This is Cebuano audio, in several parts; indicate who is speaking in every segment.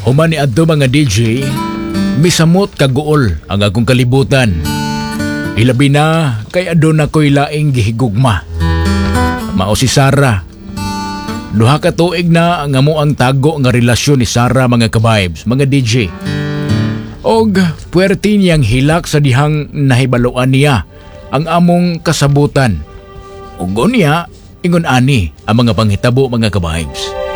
Speaker 1: Human ni adto, mga DJ, misamot kaguol ang akong kalibutan. Ilabi na kay aduna ko'y laing gihigugma. Mao si Sarah. 2 ka tuig na ang amo ang tago nga relasyon ni Sarah, mga ka-vibes, mga DJ. Og puwerte niyang hilak sa dihang nahibaluan niya ang among kasabutan. Ug unya, ingon ani ang mga panghitabo, mga ka-vibes.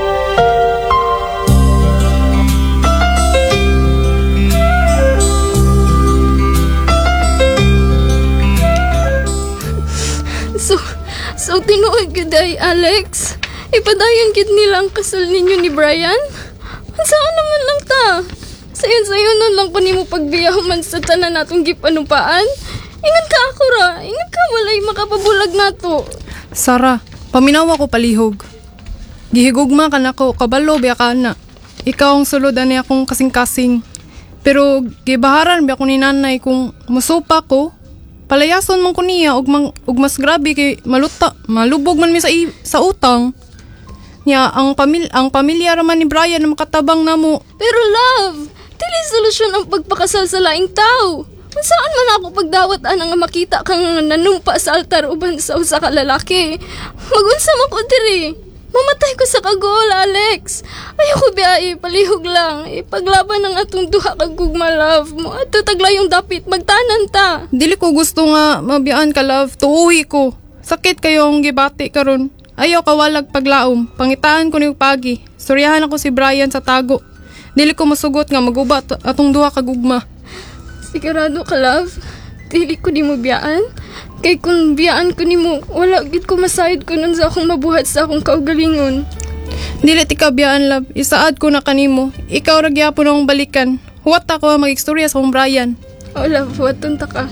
Speaker 2: So tinuod gyud ay, Alex. Ipadayon gid nila ang kasal ninyo ni Brian? Saan naman lang ta? Sayon-sayon nun lang ko nimo pagbiyaw man sa tanan natong gipanupaan. Ingon ka ako ra, ingon ka walay makapabulag nato.
Speaker 3: Sara, paminawa ko palihog. Gihigugma ka nako, kabalo biya ka na. Ikaw ang sulod ani akong kasing-kasing. Pero gibaharan biya ko ni nanay kung musupa ko, palayason man ko niya ug, mang, ug mas grabe kay maluta, malubog man mi sa utang. Nya ang pamilya ra man ni Brian na makatabang namo.
Speaker 2: Pero love, dili solusyon ang pagpakasal sa laing tao. Saan man ako pagdawat ana nga makita kang nanumpa sa altar uban sa usa ka lalaki? Magunsa man ko diri. Mamatay ko sa kagol, Alex. Ayoko biyahe, palihog lang. Ipaglaban ang atong duha kag gugma, love mo. At taglayong dapit, magtanan ta.
Speaker 3: Dili ko gusto nga mabiyaan ka, love. Tuuhi ko. Sakit kayo ang gibati karon. Ayaw kawalag paglaom. Pangitaan ko ni pagi. Suryahan ako si Brian sa tago. Dili ko masugot nga maguba atong duha ka gugma.
Speaker 2: Sigurado ka, love? Dili ko di mo biyaan? Kay kung biyaan ko nimo, wala gid ko masayod ko nun sa akong mabuhat sa akong kaugalingon.
Speaker 3: Dili ti ka biyaan, love. Isaad ko na kanimo. Ikaw ra gyapon akong balikan. Huwat ako mag-istorya sa akong Brian.
Speaker 2: Oh, love, huwaton ta ka.